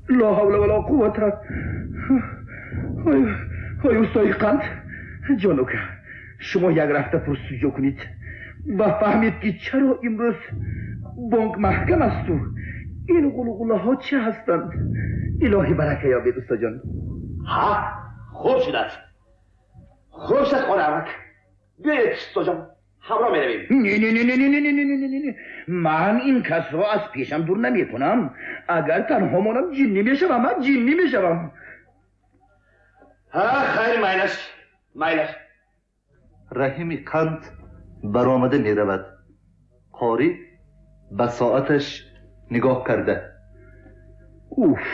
Ла ҳавла вала қуввата. Ой, устои қанд, ҷонука, шумо як рафта пурсуҷӯ кунед ва фаҳмед, ки чаро имрӯз бонк маҳкам асту ин ғулғулаҳо чӣ ҳастанд. Илоҳӣ барака ёбед, устоҷон. Ҳа, хуб шудааст, хуб шуд, қораамак. Биёед, устоҷон, ҳамроҳ меравем. Не, не, не, не, не, не, не, не, не, не, ман ин касро аз пешам дур намекунам. Агар танҳо монам, ҷиннӣ мешавам, ман ҷиннӣ мешавам. Ҳа, хайр, майлаш, майлаш. Раҳими Қанд баромада меравад. Қорӣ ба соаташ нигоҳ карда: Уф,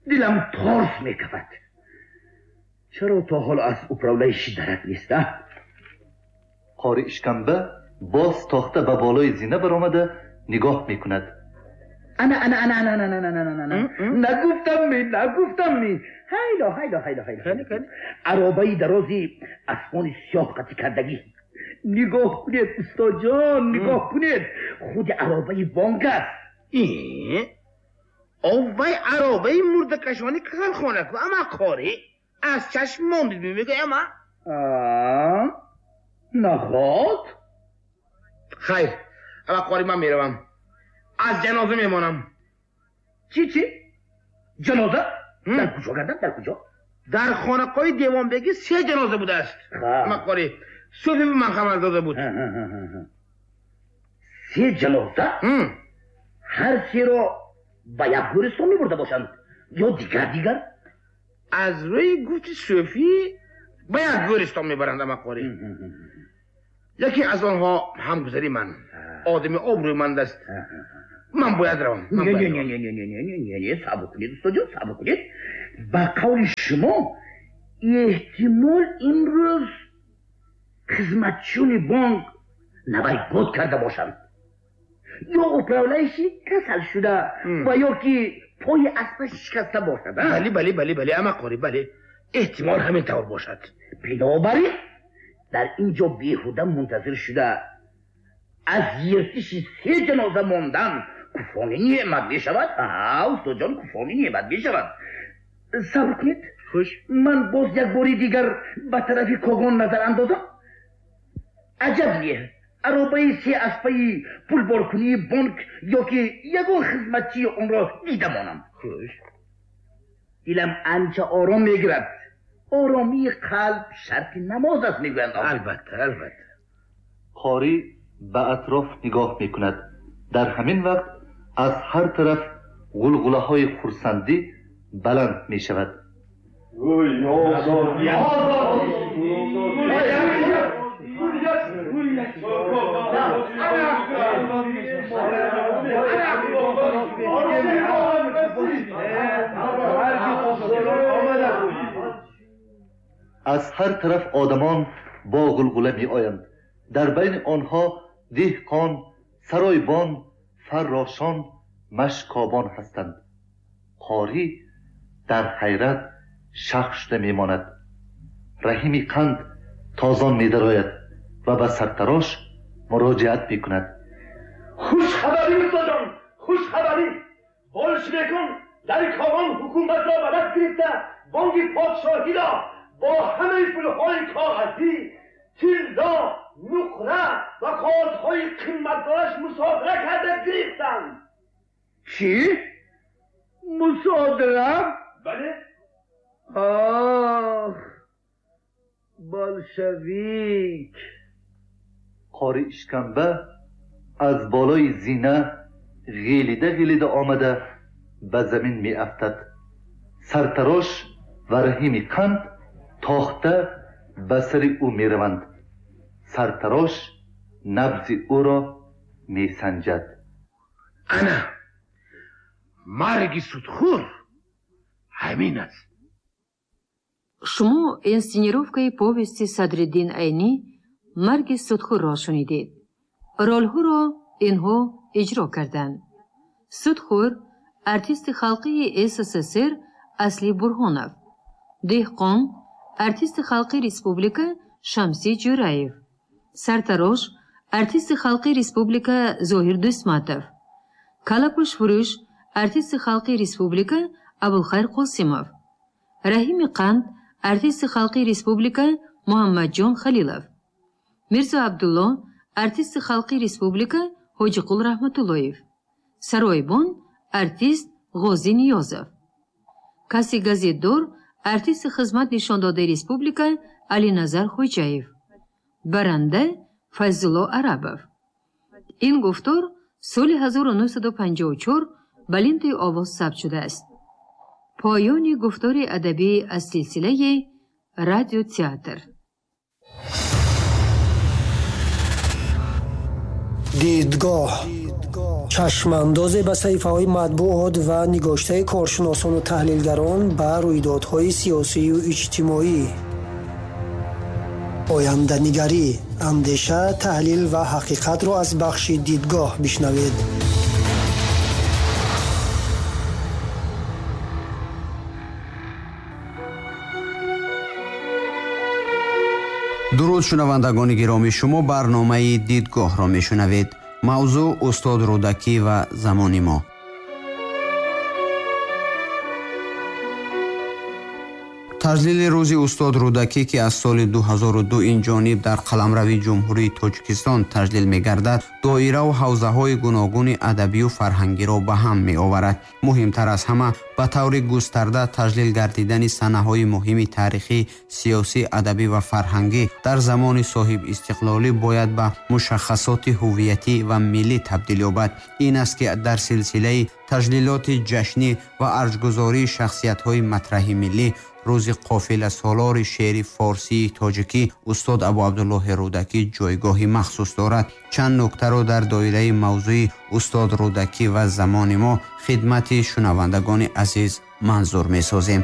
дилам торс мекафад. Чаро то ҳол аз управляющий дарак нест, а? Қори Ишкамба боз тохта ба болои зина баромада нигоҳ мекунад. Ана, ана, ана, ана, ана, ана, ана, ана, нагуфтам ми, нагуфтам ми? Ҳайдо, ҳайдо, ҳайдо, ҳайдо, аробаи дарози аспони сиёҳ қатӣ кардагӣ. Нигоҳ кунед, устоҷон, нигоҳ кунед, худи аробаи бонк аст. Оввай, аробаи мурдакашони касалхона ку, ама қорӣ, аз чашм мондид, мегӯям, ама. Наход. Хайр, ама қорӣ, ман меравам, аз ҷаноза мемонам. Чӣ, чӣ ҷаноза? Дар куҷо гардам, дар куҷо? Дар хонақои девонбегӣ се ҷаноза будааст, ама қорӣ. Суфи ба ман хабар дода буд. Се ҷаноза? Ҳар серо ба як гӯристон мебурда бошанд ё дигар дигар? Аз рӯи гуфти Суфӣ, ба як гӯристон мебаранд, ама қорӣ. Яке аз онҳо ҳамгузари ман, одами обрӯманд аст. Ман бояд равам. Не, не, не, не, не, не, не, не, не, сабр кунед, устоҷон, сабр кунед. Ба қавли шумо, эҳтимол имрӯз хизматчиёни бонк навайгод карда бошанд ё управляющий касал шуда ва ё ки пои аспаш шикаста бошад. Бале, бале, бале, бале, ама қорӣ, бале, эҳтимол ҳамин тавр бошад. Бинобар ин дар ин ҷо беҳуда мунтазир шуда, аз ертиши се ҷаноза мондан куфрони неъмат мешавад. Устоҷон, куфрони неъмат мешавад. Сабр кунед. Хуш. Ман боз як бори дигар ба тарафи Когон назар андозам. Аҷаб не, аробаи се аспаи пулборкунии бонк ё ки ягон хизматчии онро дида монам. Хуш. Дилам анча ором мегирад. Оромии қалб шарти намоз аст, мегӯянд. Албатта, албатта. Қорӣ ба атроф нигоҳ мекунад. Дар ҳамин вақт аз ҳар тараф ғулғулаҳои хурсандӣ баланд мешавад. Озодӣ! Аз ҳар тараф одамон бо ғулғула меоянд. Дар байни онҳо деҳқон, саройбон, фаррошон, машкобон ҳастанд. Қорӣ дар ҳайрат шах шуда мемонад. Раҳими Қанд тозон медарояд ва ба сартарош муроҷиат мекунад. Хушхабарӣ, устоҷон, хушхабарӣ! Болшевикон дар Когон ҳукуматро ба даст гирифта, бонки подшоҳиро бо ҳамаи пулҳои коғазӣ, тилло, нуқра ва коғазҳои қиматдораш мусодира карда гирифтанд. Чӣ, мусодира? Бале. Ох, болшевик! Қори Ишкамба аз болои зина ғелида ғелида омада ба замин меафтад. Сартарош ва Раҳими Қанд тохта ба сари ӯ мераванд. Сартарош набзи ӯро месанҷад. Ана, марги судхӯр ҳамин аст. Шумо инсценировкаи повести Садриддин Айнӣ «Марги судхӯрро» шунидед. Ролҳоро инҳо иҷро карданд: судхӯр, артисти халқии СССР Асли Бурҳонов, деҳқон, артисти халқи республика Шамси Ҷӯраев, сартарош, артисти халқи республика Зоҳир Дӯстматов, калапӯшфурӯш, артисти халқии республика Абулхайр Қосимов. Раҳими Қанд, артисти халқии республика Муҳаммадҷон Халилов. Мирзо Абдулло, артисти халқии республика Ҳоҷиқул Раҳматуллоев. Саройбон, артист Ғозӣ Ниёзов. Каси газетдор, артисти хизмат нишондодаи республика Алиназар Хоҷаев. Баранда Файзулло Арабов. Ин гуфтор соли 1954 ба лентаи овоз сабт шудааст. Поёни гуфтори адабӣ аз силсилаи радиотеатр. Дидгоҳ чашмандозе ба саҳифаҳои матбуот ва нигоштаи коршиносону таҳлилгарон ба рӯйдодҳои сиёсию иҷтимоӣ. Оянданигарӣ, андеша, таҳлил ва ҳақиқатро аз бахши дидгоҳ бишнавед. Дуруд, шунавандагони гиромӣ, шумо барномаи дидгоҳро мешунавед. Мавзӯъ устод Рӯдакӣ ва замони мо. Таҷлили рӯзи устод Рӯдакӣ, ки аз соли 2002 ин ҷониб дар қаламрави Ҷумҳурии Тоҷикистон таҷлил мегардад, доираву ҳавзаҳои гуногуни адабию фарҳангиро ба ҳам меоварад. Муҳимтар аз ҳама, ба таври густарда таҷлил гардидани санаҳои муҳими таърихӣ, сиёсӣ, адабӣ ва фарҳангӣ дар замони соҳибистиқлолӣ бояд ба мушаххасоти ҳуввиятӣ ва миллӣ табдил ёбад. Ин аст, ки дар силсилаи таҷлилоти ҷашнӣ ва арҷгузории шахсиятҳои матраҳи миллӣ рӯзи қофиласолори шеъри форсии тоҷикӣ устод Абуабдуллоҳи Рӯдакӣ ҷойгоҳи махсус дорад. Чанд нуктаро дар доираи мавзӯи устод Рӯдакӣ ва замони мо хидмати шунавандагони азиз манзур месозем.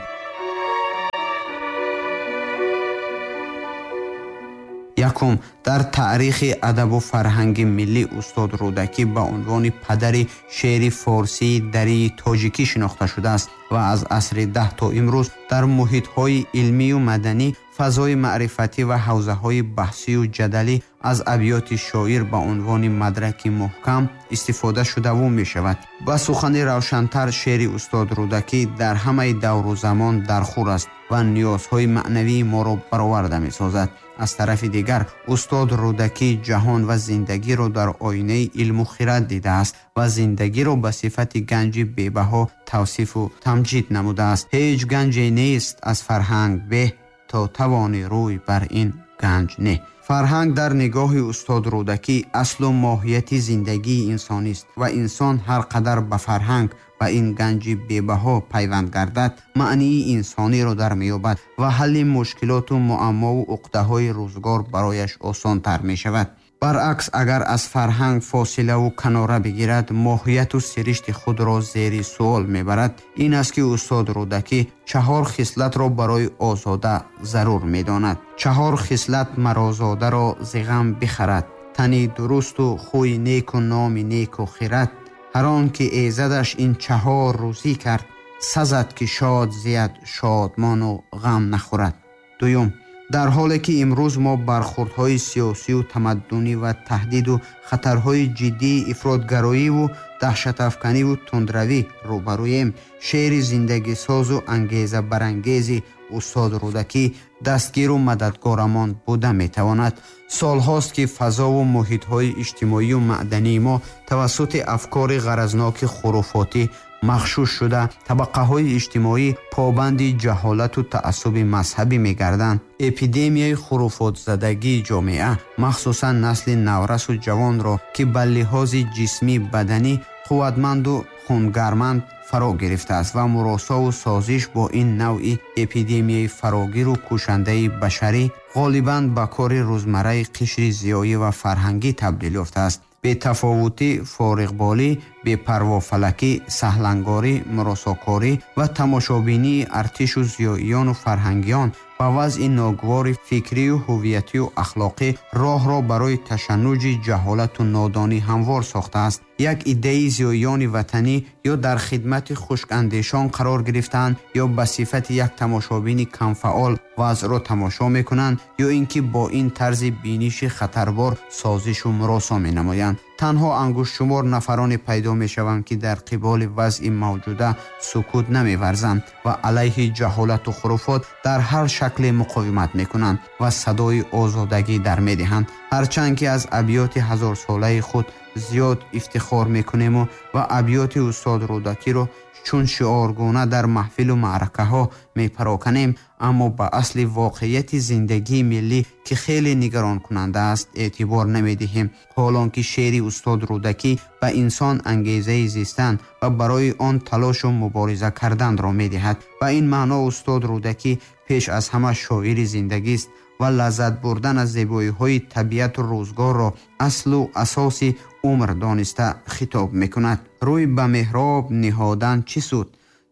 Якум, дар таърихи адабу фарҳанги миллӣ устод Рӯдакӣ ба унвони падари шеъри форсии дарии тоҷикӣ шинохта шудааст ва аз асри 10 то имрӯз дар муҳитҳои илмию маданӣ, фазои маърифатӣ ва ҳавзаҳои баҳсию ҷадалӣ аз абёти шоир ба унвони мадраки муҳкам истифода шудаву мешавад. Ба сухани равшантар, шеъри устод Рӯдакӣ дар ҳамаи давру замон дархур аст ва ниёзҳои маънавии моро бароварда месозад. Аз тарафи дигар, устод Рӯдакӣ ҷаҳон ва зиндагиро дар оинаи илму хирад дидааст ва зиндагиро ба сифати ганҷи бебаҳо тавсифу тамҷид намудааст. Ҳеҷ ганҷе нест аз фарҳанг беҳ, то тавони рӯй бар ин ганҷ не. Фарҳанг дар нигоҳи устод Рӯдакӣ аслу моҳияти зиндагии инсонист ва инсон ҳар қадар ба фарҳанг ва ин ганҷи бебаҳо пайванд гардад, маънии инсониро дар меёбад ва ҳалли мушкилоту муаммову уқдаҳои рӯзгор барояш осонтар мешавад. Баръакс, агар аз фарҳанг фосилаву канора бигирад, моҳияту сиришти худро зери суол мебарад. Ин аст, ки устод Рӯдакӣ чаҳор хислатро барои озода зарур медонад. Чаҳор хислат марозодаро зи ғам бихарад: тани дурусту хӯи неку номи неку хират. Ҳар он ки эзадаш ин чаҳор рӯзӣ кард, сазад ки шод зияд шодмону ғам нахӯрад. Дуюм, дар ҳоле ки имрӯз мо бархӯрдҳои сиёсию тамаддунӣ ва таҳдиду хатарҳои ҷиддии ифротгароиву даҳшатафканиву тундравӣ рӯбарӯем, шеъри зиндагисозу ангезабарангези устод Рӯдакӣ дастгиру мададгорамон буда метавонад. Солҳост, ки фазову муҳитҳои иҷтимоию маъдании мо тавассути афкори ғаразноки хуруфотӣ махшуш шуда, табақаҳои иҷтимоӣ побанди ҷаҳолату таассуби мазҳабӣ мегарданд. Эпидемияи хуруфотзадагии ҷомеа, махсусан насли наврасу ҷавонро, ки ба лиҳози ҷисмӣ баданӣ қувватманду хунгарманд фаро гирифтааст ва муросову созиш бо ин навъи эпидемияи фарогиру кушандаи башарӣ ғолибан ба кори рӯзмарраи қишри зиёӣ ва фарҳангӣ табдил ёфтааст. Бетафовутӣ, фориғболӣ, бепарвофалакӣ, саҳлангорӣ, муросокорӣ ва тамошобинии артишу зиёиёну фарҳангиён ба вазъи ногувори фикрию ҳуввиятию ахлоқӣ роҳро барои ташаннуҷи ҷаҳолату нодонӣ ҳамвор сохтааст. Як иддаи зиёиёни ватанӣ ё дар хидмати хушкандешон қарор гирифтаанд, ё ба сифати як тамошобини камфаъол вазъро тамошо мекунанд, ё ин ки бо ин тарзи биниши хатарбор созишу муросо менамоянд. Танҳо ангуштшумор нафароне пайдо мешаванд, ки дар қиболи вазъи мавҷуда сукут намеварзанд ва алайҳи ҷаҳолату хуруфот дар ҳар шакле муқовимат мекунанд ва садои озодагӣ дар медиҳанд. Ҳарчанд ки аз абёти ҳазорсолаи худ зиёд ифтихор мекунему ва абёти устод Рӯдакиро чун шиоргуна дар маҳфилу маъракаҳо мепароканем, аммо ба асли воқеияти зиндагии миллӣ, ки хеле нигаронкунанда аст, эътибор намедиҳем. Ҳолон ки шеъри устод Рӯдакӣ ба инсон ангезаи зистан ва барои он талошу мубориза карданро медиҳад. Ба ин маъно устод Рӯдакӣ пеш аз ҳама шоири зиндагист ва лаззат бурдан аз зебоиҳои табиату рӯзгорро аслу асоси умр дониста хитоб мекунад. Рӯй ба меҳроб ниҳодан чӣ суд,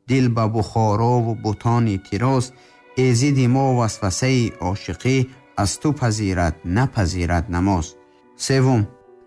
дил ба Бухорову бутони тироз, эзиди мо васвасаи ошиқӣ аз ту пазирад напазирад намоз. Севум,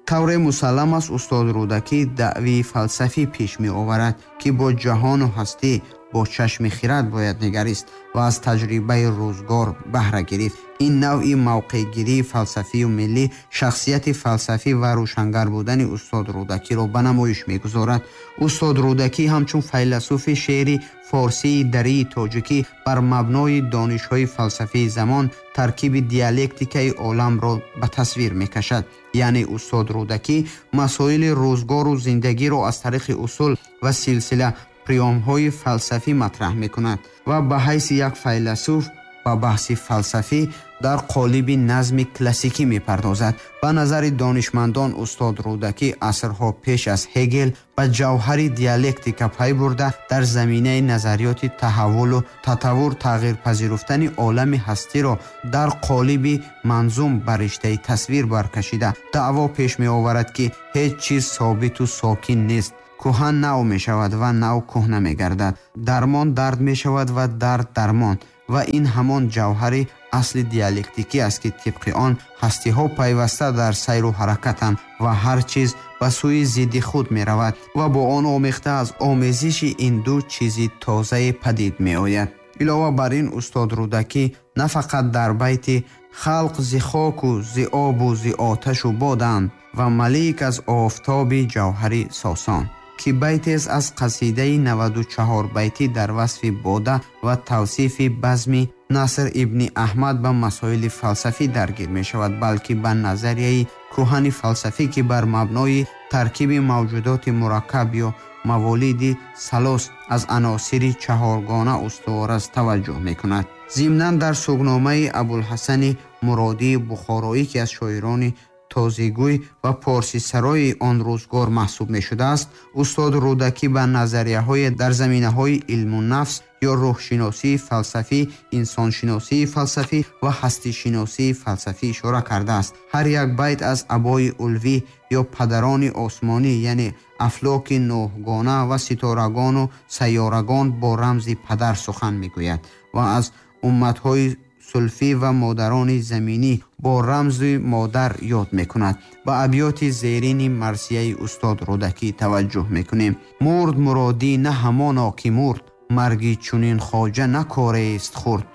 тавре мусаллам аст, устод Рӯдакӣ даъвии фалсафӣ пеш меоварад, ки бо ҷаҳону ҳастӣ бо чашми хирад бояд нигарист ва аз таҷрибаи рӯзгор баҳра гирифт. Ин навъи мавқеъгирии фалсафию миллӣ шахсияти фалсафӣ ва рӯшангар будани устод Рӯдакиро ба намоиш мегузорад. Устод Рӯдакӣ ҳамчун файласуфи шеъри форсии дарии тоҷикӣ бар мабнои донишҳои фалсафии замон таркиби диалектикаи оламро ба тасвир мекашад. Яъне устод Рӯдакӣ масоили рӯзгору зиндагиро аз тариқи усул ва силсила приёмҳои фалсафӣ матраҳ мекунад ва ба ҳайси як файласуф ба баҳси фалсафӣ дар қолиби назми классикӣ мепардозад. Ба назари донишмандон устод Рӯдакӣ асрҳо пеш аз Ҳегел ба ҷавҳари диалектика пай бурда, дар заминаи назариёти таҳаввулу татаввур тағйирпазируфтани олами ҳастиро дар қолиби манзум ба риштаи тасвир баркашида даъво пеш меоварад, ки ҳеҷ чиз собиту сокин нест. Кӯҳан нав мешавад ва нав кӯҳна мегардад, дармон дард мешавад ва дард дармон. Ва ин ҳамон ҷавҳари асли диалектикӣ аст, ки тибқи он ҳастиҳо пайваста дар сайру ҳаракатанд ва ҳар чиз ба сӯи зидди худ меравад ва бо он омехта аз омезиши ин ду чизи тозае падид меояд. Илова бар ин устод Рӯдакӣ на фақат дар байти халқ зи хоку зи обу зи оташу боданд ва малик аз офтоби ҷавҳари сосон, ки байтест аз қасидаи 94 байтӣ дар васфи бода ва тавсифи базми Наср ибни Аҳмад ба масоили фалсафӣ даргир мешавад, балки ба назарияи кӯҳани фалсафӣ, ки бар мабнои таркиби мавҷудоти мураккаб ё маволиди салос аз аносири чаҳоргона устувор аст, таваҷҷӯҳ мекунад. Зимнан дар сугномаи Абулҳасани Муродии Бухороӣ, ки аз шоирони тозигӯй ва порсисарои он рӯзгор маҳсуб мешудааст, устод Рӯдакӣ ба назарияҳое дар заминаҳои илму нафс ё рӯҳшиносии фалсафӣ, инсоншиносии фалсафӣ ва ҳастишиносии фалсафӣ ишора кардааст. Ҳар як байт аз абои улвӣ ё падарони осмонӣ, яъне афлоки нӯҳгона ва ситорагону сайёрагон бо рамзи падар сухан мегӯяд ва аз умматҳои сулфӣ ва модарони заминӣ бо рамзи модар ёд мекунад. Ба абёти зерини марсияи устод Рӯдакӣ таваҷҷӯҳ мекунем. Мурд муродӣ на ҳамоно ки мурд, марги чунин хоҷа накорест хурд.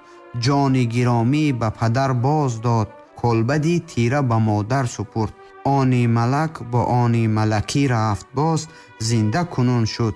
Ҷони гиромӣ ба падар боз дод, колбади тира ба модар супурд. Они малак бо они малакӣ рафт боз, зинда кунун шуд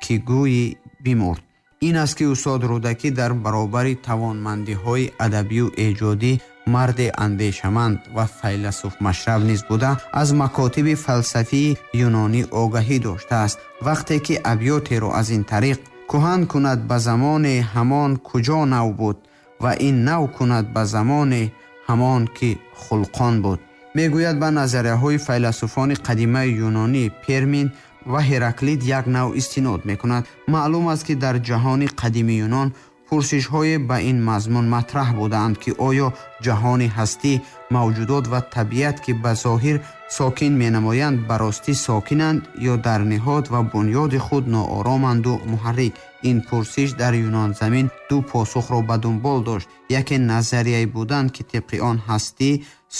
ки гӯйи бимурд. Ин аст ки устод Рӯдакӣ дар баробари тавонмандиҳои адабию эҷодӣ марди андешаманд ва файласуфмашраб низ буда, аз макотиби фалсафии юнонӣ огаҳӣ доштааст. Вақте ки абётеро аз ин тариқ кӯҳан кунад ба замоне ҳамон куҷо нав буд ва ин нав кунад ба замоне ҳамон ки хулқон буд, мегӯяд ба назарияҳои файласуфони қадимаи юнонӣ Пермин ва Ҳераклит як нав истинод мекунад. Маълум аст, ки дар ҷаҳони қадими юнон пурсишҳое ба ин мазмун матраҳ будаанд, ки оё ҷаҳони ҳастӣ, мавҷудот ва табиат, ки ба зоҳир сокин менамоянд, ба ростӣ сокинанд ё дар ниҳод ва бунёди худ ноороманду муҳаррик. Ин пурсиш дар юнонзамин ду посухро ба дунбол дошт. Яке назарияе буданд, ки тибқи он ҳастӣ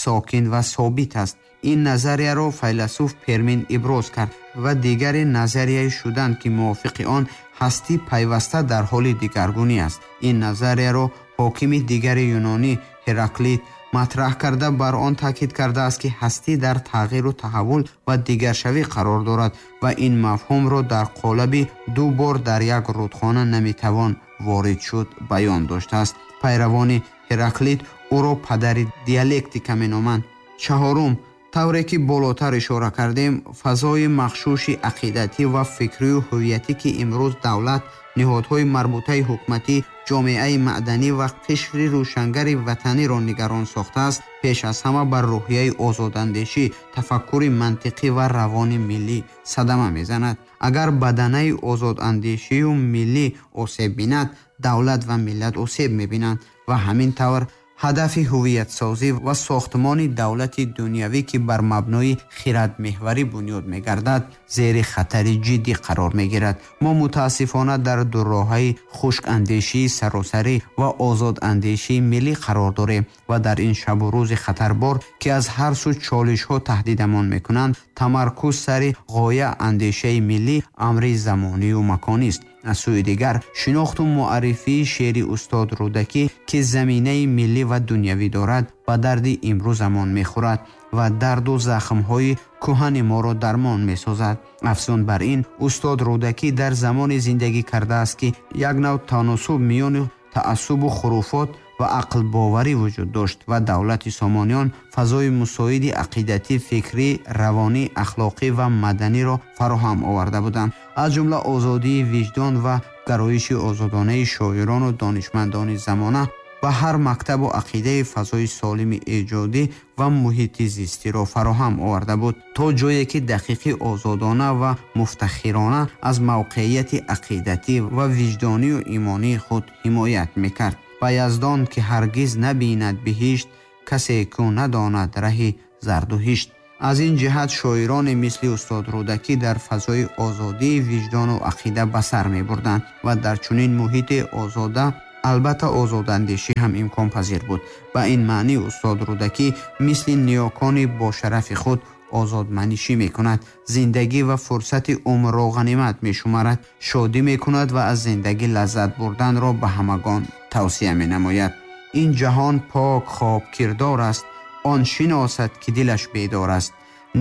сокин ва собит аст. Ин назарияро файласуф Пермин иброз кард ва дигаре назарияе шуданд, ки мувофиқи он ҳастӣ пайваста дар ҳоли дигаргунӣ аст. Ин назарияро ҳокими дигари юнонӣ Ҳераклит матраҳ карда, бар он таъкид кардааст, ки ҳастӣ дар тағйиру таҳаввул ва дигаршавӣ қарор дорад ва ин мафҳумро дар қолаби ду бор дар як рудхона наметавон ворид шуд баён доштааст. Пайравони Ҳераклит ӯро падари диалектика меноманд. Чаҳорум, тавре ки болотар ишора кардем, фазои махшуши ақидатӣ ва фикрию ҳувиятӣ, ки имрӯз давлат, ниҳодҳои марбутаи ҳукуматӣ, ҷомеаи маъданӣ ва қишри рӯшангари ватаниро нигарон сохтааст, пеш аз ҳама бар рӯҳияи озодандешӣ, тафаккури мантиқӣ ва равони миллӣ садама мезанад. Агар баданаи озодандешию миллӣ осеб бинад, давлат ва миллат осеб мебинанд ва ҳамин тавр ҳадафи ҳувиятсозӣ ва сохтмони давлати дунявӣ, ки бар мабнои хиратмеҳварӣ бунёд мегардад, зери хатари ҷиддӣ қарор мегирад. Мо мутаассифона дар дурроҳаи хушкандешии саросарӣ ва озодандешии миллӣ қарор дорем ва дар ин шабу рӯзи хатарбор, ки аз ҳар сӯ чолишҳо таҳдидамон мекунанд, тамаркуз сари ғоя андешаи миллӣ амри замонию маконист. Аз сӯи дигар, шинохту муаррифии шеъри устод Рӯдакӣ, ки заминаи миллӣ ва дунявӣ дорад, ба дарди имрӯзамон мехӯрад ва дарду захмҳои кӯҳани моро дармон месозад. Афзун бар ин, устод Рӯдакӣ дар замоне зиндагӣ кардааст, ки як нав таносуб миёни таассубу хуруфот ва ақлбоварӣ вуҷуд дошт ва давлати Сомониён фазои мусоиди ақидатӣ, фикрӣ, равонӣ, ахлоқӣ ва маданиро фароҳам оварда буданд. Аз ҷумла озодии виҷдон ва гароиши озодонаи шоирону донишмандони замона ба ҳар мактабу ақидаи фазои солими эҷодӣ ва муҳити зистиро фароҳам оварда буд, то ҷое ки дақиқи озодона ва муфтахирона аз мавқеияти ақидатӣ ва виҷдонию имонии худ ҳимоят мекард. Ба Яздон, ки ҳаргиз набинад биҳишт, касе кӯ надонад раҳи зардуҳишт. Аз ин ҷиҳат шоироне мисли устод Рӯдакӣ дар фазои озодии виҷдону ақида ба сар мебурданд ва дар чунин муҳити озода албатта озодандешӣ ҳам имконпазир буд. Ба ин маънӣ устод Рӯдакӣ мисли ниёкони бошарафи худ озодманишӣ мекунад, зиндагӣ ва фурсати умрро ғанимат мешуморад, шодӣ мекунад ва аз зиндагӣ лаззат бурданро ба ҳамагон тавсия менамояд. Ин ҷаҳон пок хобкирдор аст, он шиносад, ки дилаш бедор аст.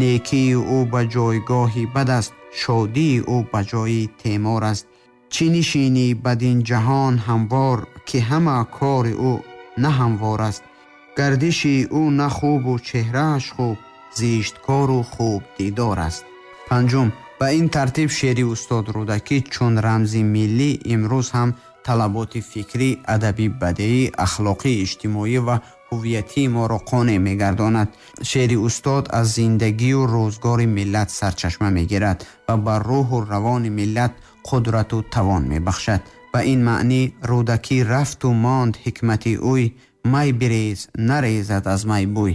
Некии ӯ ба ҷойгоҳи бад аст, шодии ӯ ба ҷои темор аст. Чӣ нишинӣ бадин ҷаҳон ҳамвор, ки ҳама кори ӯ на ҳамвор аст. Гардиши ӯ на хубу чеҳрааш хуб, зишткору хуб дидор аст. Панҷум, ба ин тартиб шеъри устод Рӯдакӣ чун рамзи миллӣ имрӯз ҳам талаботи фикрӣ, адабӣ, бадеӣ, ахлоқӣ, иҷтимоӣ ва ҳувиятии моро қонеъ мегардонад. Шеъри устод аз зиндагию рӯзгори миллат сарчашма мегирад ва ба рӯҳу равони миллат қудрату тавон мебахшад. Ба ин маънӣ Рӯдакӣ рафту монд ҳикмати ӯй, май бирез, нарезад аз май бӯй.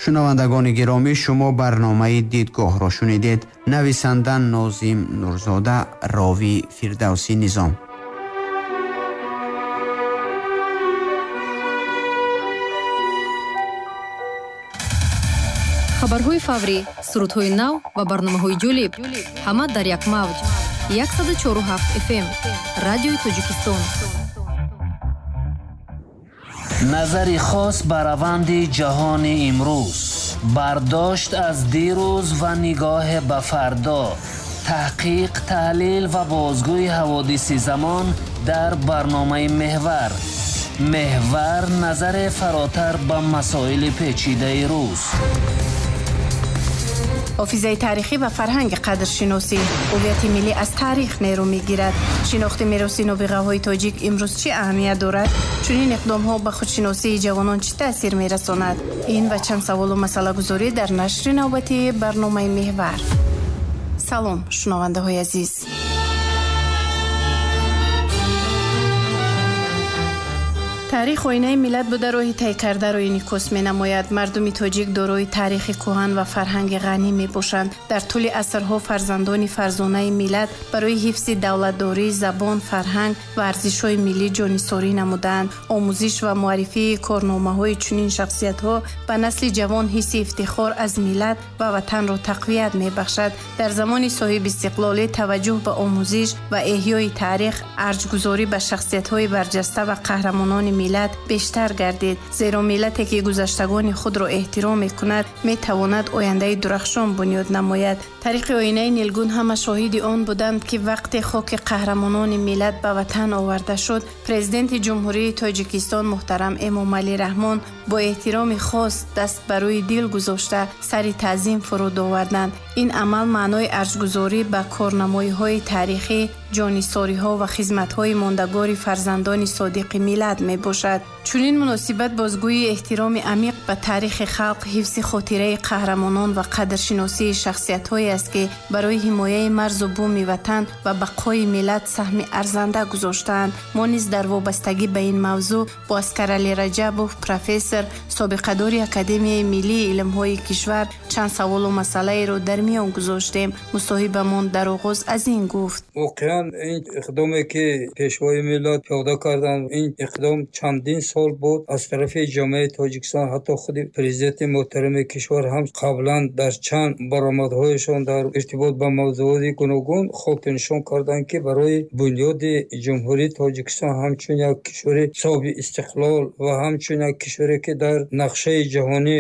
Шунавандагони гиромӣ, шумо барномаи Дидгоҳро шунидед. Нависанда Нозим Нурзода, ровӣ Фирдавсӣ Низом. Хабарҳои фаврӣ, сурудҳои нав ва барномаҳои ҷолиб ҳама дар як мавҷ. 104,7 FM, Радиои Тоҷикистон. Назари хос ба раванди ҷаҳони имрӯз, бардошт аз дирӯз ва нигоҳе ба фардо, таҳқиқ, таҳлил ва бозгӯи ҳаводиси замон дар барномаи Меҳвар. Меҳвар назаре фаротар ба масоили печидаи рӯз. Ҳофизаи таърихӣ ва фарҳанги қадршиносӣ. Ҳувияти миллӣ аз таърих нерӯ мегирад. Шинохти мероси нобиғаҳои тоҷик имрӯз чӣ аҳамият дорад? Чунин иқдомҳо ба худшиносии ҷавонон чӣ таъсир мерасонад? Ин ва чанд саволу масъалагузорӣ дар нашри навбатии барномаи Меҳвар. Салом, шунавандаҳои азиз. Таърих оинаи миллат буда роҳи тай кардаро инъикос менамояд. Мардуми тоҷик дорои таърихи кӯҳан ва фарҳанги ғанӣ мебошанд. Дар тӯли асрҳо фарзандони фарзонаи миллат барои ҳифзи давлатдорӣ, забон, фарҳанг ва арзишҳои миллӣ ҷонисорӣ намудаанд. Омӯзиш ва муаррифии корномаҳои чунин шахсиятҳо ба насли ҷавон ҳисси ифтихор аз миллат ва ватанро тақвият мебахшад. Дар замони соҳибистиқлолӣ таваҷҷӯҳ ба омӯзиш ва эҳёи таърих, арҷгузорӣ ба шахсиятҳои барҷаста ва қаҳрамонони миллат бештар гардид. Зеро миллате ки гузаштагони худро эҳтиром мекунад, метавонад ояндаи дурахшон бунёд намояд. Тариқи оинаи нилгун ҳама шоҳиди он буданд, ки вақте хоки қаҳрамонони миллат ба ватан оварда шуд, Президенти Ҷумҳурии Тоҷикистон муҳтарам Эмомалӣ Раҳмон бо эҳтироми хос даст ба рӯи дил гузошта сари таъзим фуруд оварданд. Ин амал маънои арҷгузорӣ ба корнамоиҳои таърихӣ, ҷонисориҳо ва хизматҳои мондагори фарзандони содиқи миллат мебошад. Чунин муносибат бозгӯии эҳтироми амиқ ба таърихи халқ, ҳифзи хотираи қаҳрамонон ва қадршиносии шахсиятҳое аст, ки барои ҳимояи марзу буми ватан ва бақои миллат саҳми арзанда гузоштаанд. Мо низ дар вобастагӣ ба ин мавзӯъ бо Аскаралӣ Раҷабов, профессор, собиқадори Академияи миллии илмҳои кишвар чанд саволу масъалаеро дар миён гузоштем. Мусоҳибамон дар оғоз аз ин гуфт. Воқеан ин иқдоме ки Пешвои миллат пиёда карданд, ин иқдом чандин сол буд аз тарафи ҷомеаи Тоҷикистон, ҳатто худи президенти муҳтарами кишвар ҳам қаблан дар чанд баромадҳояшон дар иртибот ба мавзӯоти гуногун хотирнишон карданд, ки барои бунёди Ҷумҳурии Тоҷикистон ҳамчун як кишвари соҳиби истиқлол ва ҳамчун як кишваре ки дар нақшаи ҷаҳонӣ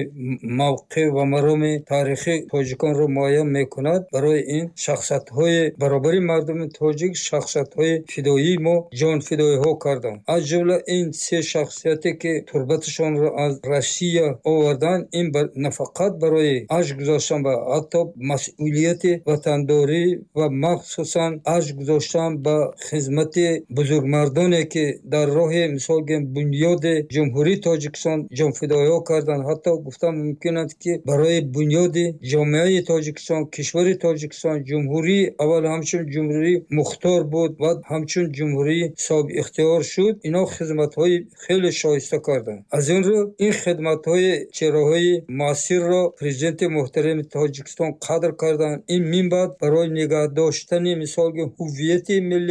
мавқеъ ва мароми таърихи тоҷиконро муайян мекунад, барои ин шахсиятҳои баробари мардуми тоҷик, шахсиятҳои фидоии мо ҷонфидоиҳо карданд. Аз ҷумла ин се шахсияте ки турбаташонро аз Россия оварданд, ин на фақат барои арҷ гузоштан ба ҳатто масъулияти ватандорӣ ва махсусан арҷ гузоштан ба хизмати бузургмардоне ки дар роҳи мисол гӯем бунёди Ҷумҳурии Тоҷикистон ҷонфидоиҳо карданд, ҳатто гуфтан мумкин аст ки барои бунёди ҷомеаи Тоҷикистон, кишвари Тоҷикистон, ҷумҳурӣ аввал ҳамчун ҷумҳурии мухтор буд ва ҳамчун ҷумҳурии соҳибихтиёр шуд, ино хизматҳои хеле шоиста карданд. Аз ин рӯ ин хидматҳои чеҳраҳои муассирро президенти муҳтарами Тоҷикистон қадр карданд. Ин минбаъд барои нигаҳ доштани мисол гӯем ҳуввияти миллӣ